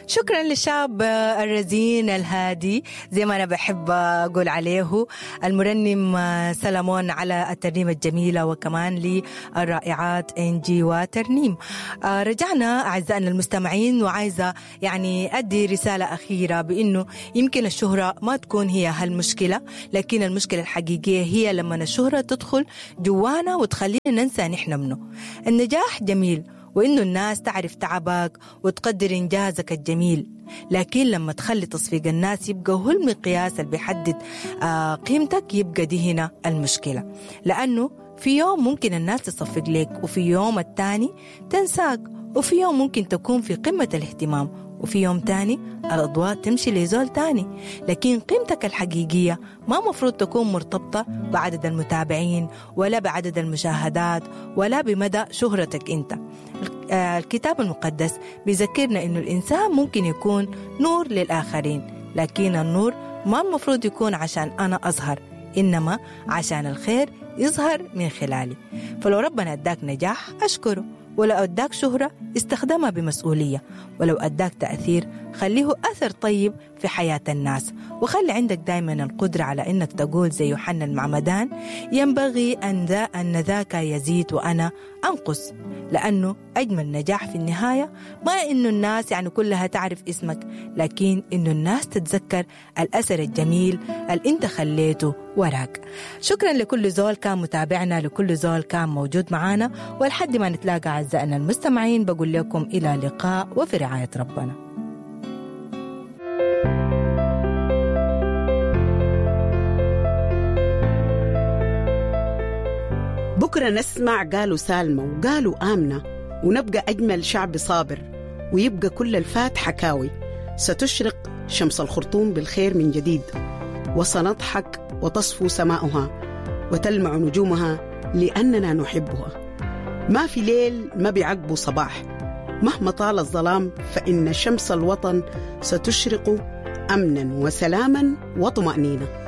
شكرا للشاب الرزين الهادي زي ما أنا بحب أقول عليه، المرنم سلمون، على الترنيمة الجميلة، وكمان للرائعات إنجي وترنيم. رجعنا أعزائنا المستمعين، وعايزة يعني أدي رسالة أخيرة بأنه يمكن الشهرة ما تكون هي هالمشكلة، لكن المشكلة الحقيقية هي لما الشهرة تدخل جوانا وتخلينا ننسى نحن منه. النجاح جميل، وإنه الناس تعرف تعبك وتقدر إنجازك الجميل، لكن لما تخلي تصفيق الناس يبقى هو المقياس اللي بيحدد قيمتك، يبقى دي هنا المشكلة. لأنه في يوم ممكن الناس تصفق لك، وفي يوم التاني تنساك، وفي يوم ممكن تكون في قمة الاهتمام، وفي يوم تاني الأضواء تمشي لزول تاني. لكن قيمتك الحقيقية ما مفروض تكون مرتبطة بعدد المتابعين ولا بعدد المشاهدات ولا بمدى شهرتك أنت. الكتاب المقدس بيذكرنا إنه الإنسان ممكن يكون نور للآخرين، لكن النور ما المفروض يكون عشان أنا أظهر، إنما عشان الخير يظهر من خلالي. فلو ربنا أداك نجاح أشكره، ولو أداك شهرة استخدمها بمسؤولية، ولو أداك تأثير خليه أثر طيب في حياة الناس، وخلي عندك دايما القدرة على إنك تقول زي يوحنا المعمدان: ينبغي أن ذاك يزيد وأنا أنقص. لأنه أجمل نجاح في النهاية ما إنه الناس يعني كلها تعرف اسمك، لكن إنه الناس تتذكر الأثر الجميل اللي أنت خليته وراك. شكرا لكل زول كان متابعنا، لكل زول كان موجود معانا، ولحد ما نتلاقى أعزائنا المستمعين بقول لكم إلى لقاء وفي رعاية ربنا. بكرة نسمع قالوا سالمة وقالوا آمنة، ونبقى أجمل شعب صابر، ويبقى كل الفات حكاوي. ستشرق شمس الخرطوم بالخير من جديد، وسنضحك وتصفو سماؤها وتلمع نجومها لأننا نحبها. ما في ليل ما بيعقبه صباح، مهما طال الظلام فإن شمس الوطن ستشرق أمنا وسلاما وطمأنينة.